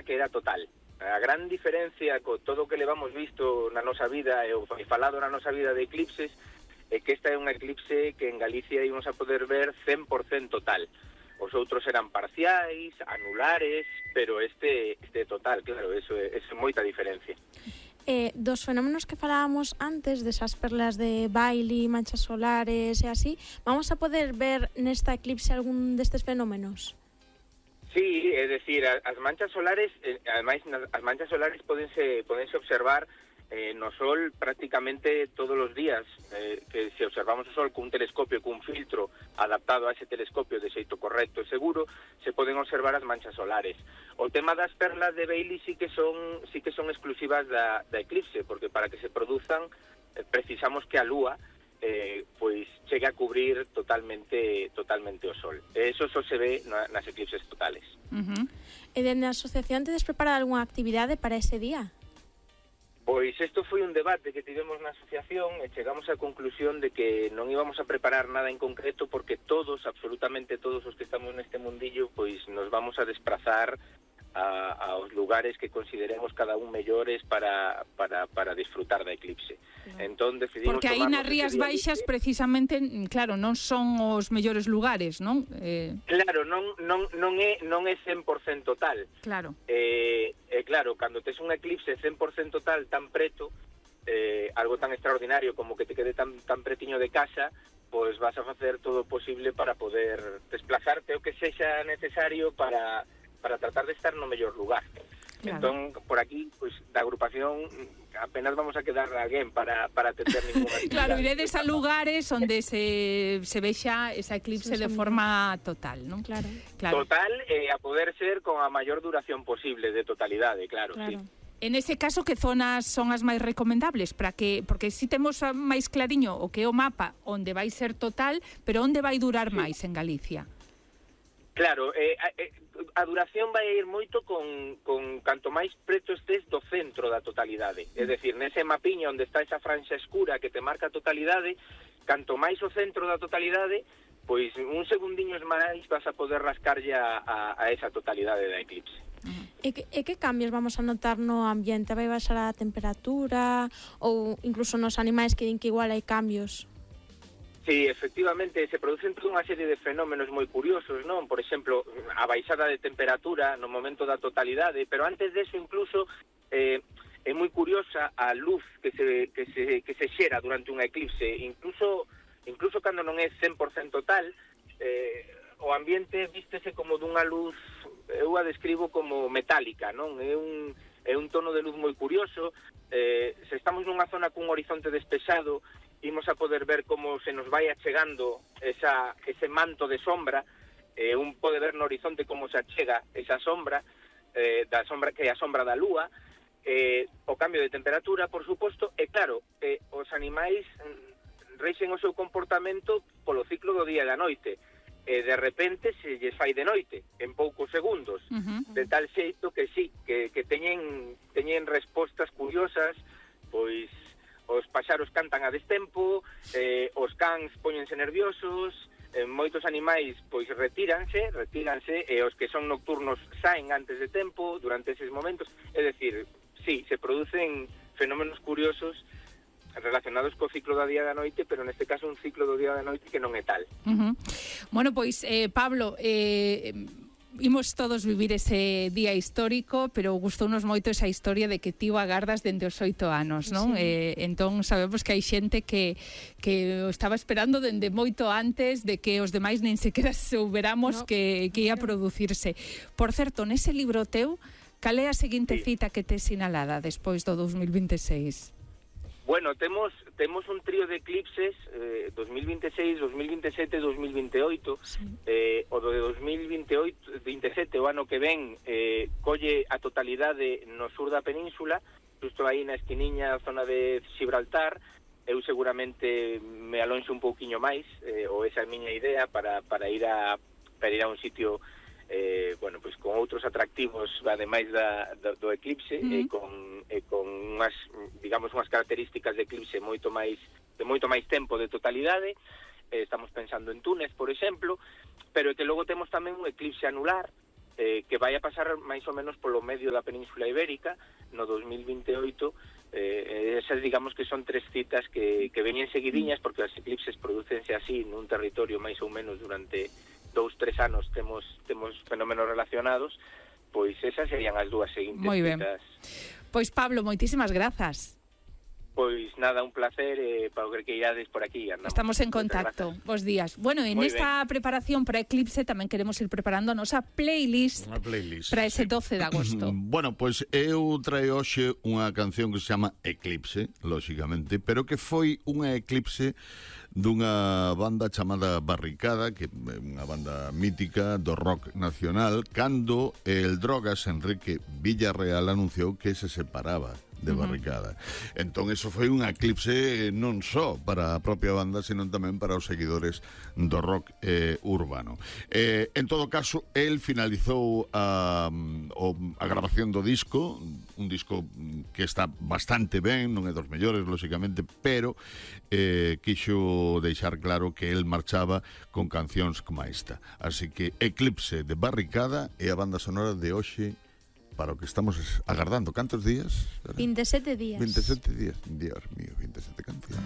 que era total. A gran diferencia con todo o que levamos visto na nosa vida e falado na nosa vida de eclipses é que esta é un eclipse que en Galicia íbamos a poder ver 100% total. Os outros eran parciais, anulares, pero este total, claro, eso é moita diferencia. Dos fenómenos que falábamos antes, desas perlas de Bailey, manchas solares e así, vamos a poder ver nesta eclipse algún destes fenómenos? Sí, é dicir, as manchas solares, ademais as manchas solares podense observar no Sol prácticamente todos os días, que se observamos o Sol cun telescopio, cun filtro adaptado a ese telescopio de xeito correcto e seguro, se poden observar as manchas solares. O tema das perlas de Bailey sí que son exclusivas da eclipse, porque para que se produzan precisamos que a Lúa pois chegue a cubrir totalmente o Sol. Eso só se ve nas eclipses totales. E dende a asociación tedes preparado algunha actividade para ese día? Pois isto foi un debate que tivemos na asociación e chegamos á conclusión de que non íbamos a preparar nada en concreto porque absolutamente todos os que estamos neste mundillo, pois nos vamos a desplazar aos lugares que consideremos cada un mellores para disfrutar da eclipse. Entón decidimos porque aí nas Rías Baixas precisamente, claro, non son os mellores lugares, non? Claro, non é 100% tal. Claro. Claro, cando tes un eclipse 100% tal tan preto, algo tan extraordinario como que te quede tan pretiño de casa, pois vas a facer todo o posible para poder desplazarte o que sexa necesario para tratar de estar no mellor lugar. Claro. Entón, por aquí, pois, da agrupación apenas vamos a quedar alguén para atender ninguna actividade. Claro, iredes a lugares onde se vexa esa eclipse de forma total, non? Claro. Total, a poder ser con a maior duración posible de totalidade, claro. Sí. En ese caso, que zonas son as máis recomendables? Porque si temos máis clariño o que é o mapa onde vai ser total, pero onde vai durar máis en Galicia? Claro, a duración vai ir moito con canto máis preto estés do centro da totalidade. É dicir, nese mapiño onde está esa franxa escura que te marca a totalidade, canto máis o centro da totalidade, pois un segundiños máis vas a poder rascarlle a esa totalidade da eclipse. E que cambios vamos a notar no ambiente? Vai baixar a temperatura ou incluso nos animais que din que igual hai cambios? Sí, efectivamente, se producen toda unha serie de fenómenos moi curiosos, non? Por exemplo, a baixada de temperatura no momento da totalidade, pero antes deso incluso é moi curiosa a luz que se xera durante unha eclipse, incluso cando non é 100% tal, o ambiente vístese como dunha luz, eu a describo como metálica, non? É un tono de luz moi curioso. Se estamos nunha zona cun horizonte despexado, imos a poder ver como se nos vai achegando ese manto de sombra, un pode ver no horizonte como se achega esa sombra, da sombra que é a sombra da lúa, o cambio de temperatura, por suposto, e claro, os animais reixen o seu comportamento polo ciclo do día e da noite, e de repente se lles fai de noite, en poucos segundos, de tal xeito que sí, que teñen respostas curiosas, pois os paxaros cantan a destempo, os cans póñense nerviosos, moitos animais pois retíranse e os que son nocturnos saen antes de tempo durante eses momentos. É dicir, sí, se producen fenómenos curiosos relacionados co ciclo do día e da noite, pero neste caso un ciclo do día e da noite que non é tal. Bueno, pois, Pablo, imos todos vivir ese día histórico, pero gustounos moito esa historia de que ti o agardas dende os 8 anos, non? Sí. Entón sabemos que hai xente que o estaba esperando dende moito antes de que os demais nen sequera souberamos que ia producirse. Por certo, nese libro teu, cal é a seguinte cita que te sinalada despois do 2026? Bueno, temos un trío de eclipses 2026, 2027 e 2028. Sí. O de 2027, o ano que ven, colle a totalidade no sur da península, justo aí na esquiniña, zona de Gibraltar. Eu seguramente me alonxo un pouquiño máis, ou esa é a miña idea, para ir a un sitio bueno, pues con outros atractivos ademais do eclipse, e con unhas, digamos, unhas características de eclipse de moito máis tempo de totalidade. Estamos pensando en Túnez, por exemplo, pero que logo temos tamén un eclipse anular que vai a pasar máis ou menos polo medio da Península Ibérica no 2028. Esas digamos que son 3 citas que veñen seguidiñas, porque as eclipses producense así nun territorio máis ou menos durante 2-3 anos temos fenómenos relacionados. Pois esas serían as 2 seguintes citas. Pois Pablo, moitísimas grazas. Pois nada, un placer, para o que irades por aquí. Andamos. Estamos en contacto. Bos días. Bueno, en esta preparación para Eclipse tamén queremos ir preparando a nosa playlist para ese 12 de agosto. Bueno, pois eu traio hoxe unha canción que se chama Eclipse, lóxicamente, pero que foi unha eclipse dunha banda chamada Barricada, que é unha banda mítica do rock nacional, cando el Drogas Enrique Villarreal anunciou que se separaba de Barricada. Entón, eso foi un eclipse non só para a propia banda, senón tamén para os seguidores do rock urbano. En todo caso, el finalizou a grabación do disco, un disco que está bastante ben, non é dos mellores, lóxicamente, pero quixo deixar claro que el marchaba con cancións como esta. Así que Eclipse de Barricada é a banda sonora de hoxe para o que estamos agardando. Cantos días? 27 días. 27 días. Dios mío, 27 cancións.